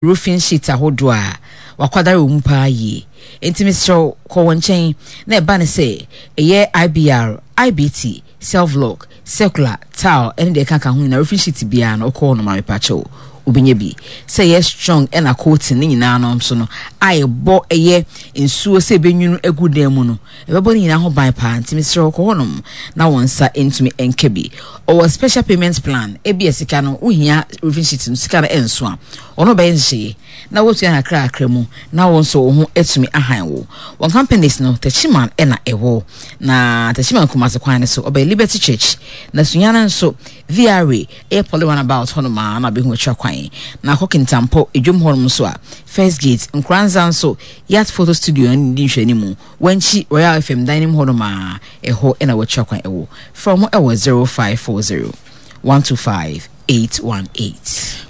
Roofing sheet ahodoɔ a wakwadare wɔ mu paa yie. Enti mesrɛ wo kɔ wɔn nkyɛn na ɛba no sɛ ɛyɛ IBR, IBT, Self-lock, Circular, Tile ɛne deɛ ɛkaka ho nyinaa roofing sheet biara no wokɔ hɔ nom a mepakyɛw wobɛnya bi. Sɛ ɛyɛ strong ɛna coating ne nyinaa no nso no a ɛbɔ ɛyɛ nsuo sɛ ɛbɛnwunu agu dan mu no ɛbɛbɔ ne nyinaa ho ban paa nti mesrɛ wo kɔ hɔ nom na wo nsa ntumi nka bi. Ɔwɔ special payment plan ebia sika no wohia roofing sheet no sika no ɛnso a Ɔno ɔbɛyɛ nhyehyɛeɛ na woatua no kakrakra mu na wo nso wo ho atumi ahan wo. Wɔn companies no, Techiman na ɛwɔ. Na Techiman Kumasi kwan no so, ɔbɛn Liberty Church. Na Sunyani nso, VRA, ɛyɛ Poly Runabout hɔnom ara na wobɛhu atwa kwan. Na akɔ Kintampo, Edwom hɔnom nso a, First Gate, Nkoranza nso, Yacht Photo Studio no di nhwɛanimu. Wankyi, Royal FM dan no mu hɔnom ara, ɛhɔ na wɔatwa kwan wɔ. Frɛ wɔn wɔ 0540 125 818.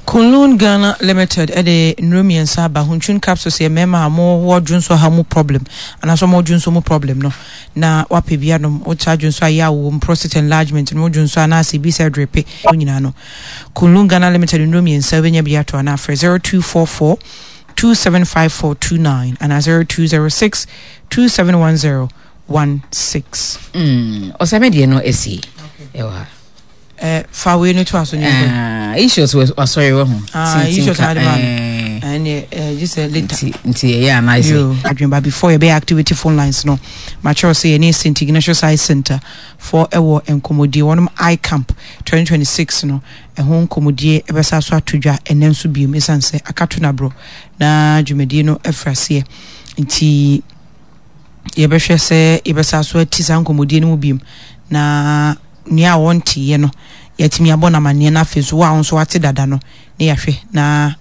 Kunlun Ghana Limited de nnuro mmiɛnsa aba, Huntun capsules yɛ mmarima a wɔwɔ dwonsɔ haw mu problem anaasɛ wɔwɔ dwonsɔ mu problem no na wapɛ bi anom, wotaa dwonsɔ a yaw wɔ mu, prostate enlargement no, wo dwonsɔ anaasɛ ebi sɛ drepe no nyinaa no, Kunlun Ghana Limited nnuro mmiɛnsa wobɛnya bi atɔ anaa frɛ 0244 275429 anaa 0206 271016. Mm, ɔsɛ me deɛ no asi ɛwɔ ha. Eh, fa wei no to aso ne nkɔ. Ah, issues wɔ asɔre wɔ ho. Ah, issues na de ma no. Ɛne eh, gye sɛ later. Nti nti ɛyɛ a nice. Yo, adwene ba before yɛbɛyɛ activity phone lines no. Makyerɛw sɛ yɛne St. Ignatius Eye Center for ɛwɔ nkɔmmɔdie wɔnom Eye Camp 2026 no ɛho nkɔmmɔdie ɛbɛsa so ato dwa ɛnɛ nso biom ɛsiane sɛ akato no aborɔ na dwumadie no afiri aseɛ nti yɛbɛhwɛ sɛ yɛbɛsa so ati saa nkɔmmɔdie no mu biom na nea ɔnteeɛ no, yɛatumi abɔ no amanneɛ na afei nso wo a wo nso wate dada no ne yɛahwɛ na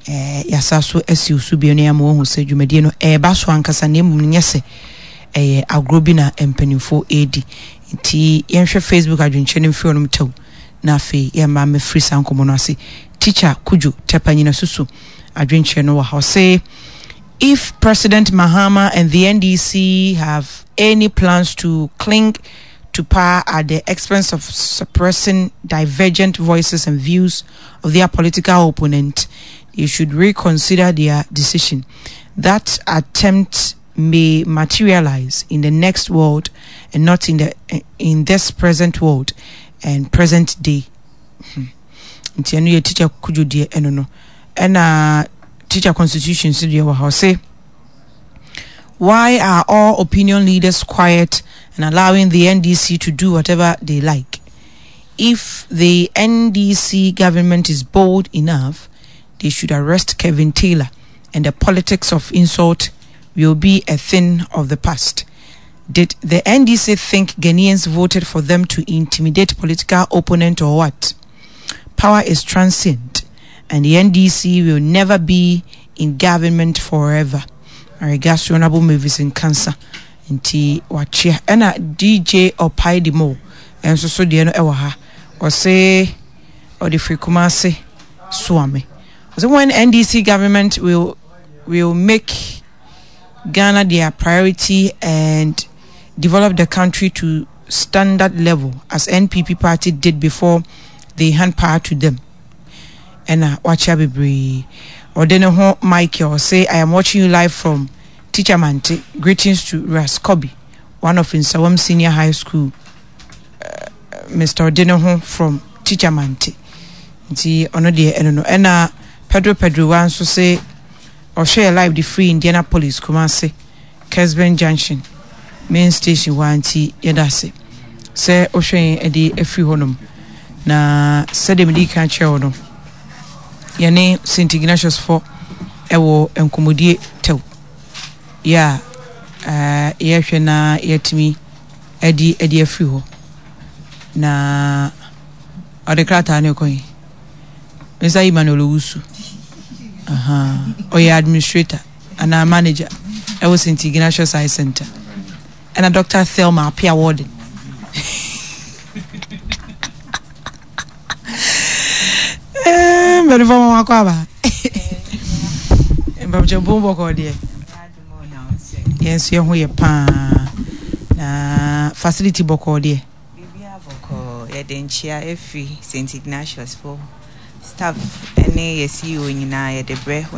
eh, yɛasa so asi wo so bio na yɛama wahu sɛ dwumadie no ɛreba so ankasa na mmom no nyɛ sɛ ɛyɛ agorɔ bi na mpanimfoɔ ɛredi. Nti yɛnhwɛ Facebook adwenkyerɛ no mfiri hɔnom tɛw na afei yɛmma mmɛfiri saa nkɔmmɔ no ase. Teacher Kudwo Tɛpa Nyinasusu adwenkyerɛ no wɔ ha. Ɔse if President Mahama and the NDC have any plans to cling to power at the expense of suppressing divergent voices and views of their political opponent, they should reconsider their decision. That attempt may materialize in the next world and not in the in this present world and present day. Hmm. Nti ɛno yɛ teacher Kudwo deɛ ɛno no. Ɛna teacher constitution so deɛ wɔ ha ɔse why are all opinion leaders quiet and allowing the NDC to do whatever they like? If the NDC government is bold enough, they should arrest Kevin Taylor and the politics of insult will be a thing of the past. Did the NDC think Ghanaians voted for them to intimidate political opponent or what? Power is transient and the NDC will never be in government forever. My regards to Honorable Mavis Nkansa. Nti wakyea. Ɛna DJ Ɔpae di mo nso so deɛ no ɛwɔ ha. Ɔse ɔde firi Kumase Suame. Ɔse when NDC government will will make Ghana their priority and develop the country to standard level as NPP party did before they hand power to them. Ɛna wakyea bebree. Ɔde ne ho Michael ɔse I am watching you live from Teacher Mante. Greetings to Ras Kobi, one of Nsawam Senior High School. Uh, Mr. Ɔde ne ho from Teacher Mante. Nti ɔno deɛ ɛno no. Ɛna Pedro Pedro wa nso se ɔhwɛ yɛ live de free Indianapolis Kumasi. Kesben Junction main station hɔ ara nti yɛda ase sɛ wohwɛ yɛn de afiri hɔnom. Na sɛdeɛ mede kan kyerɛ wo no, yɛne St. Ignatius fo ɛwɔ nkɔmmɔdie tɛw yɛ a eh, yɛhwɛ na yɛatumi adi adi afiri hɔ. Na ɔde krataa no kɔ yi. Mr. Emmanuel Owusu. Ɔyɛ administrator. anaa manager ɛwɔ St. Ignatius Eye Center ɛna Dr. Thelma Apia Warden mpanimfoɔ ma wakɔ aba mpamkyɛ mpom bɔkɔɔ deɛ yɛn nso yɛn ho yɛ paa na facility bɔkɔɔ deɛ biribiara bɔkɔɔ yɛde nkyea ɛfiri St. Ignatius fo. Staff ne yɛ CEO nyinaa yɛde brɛ.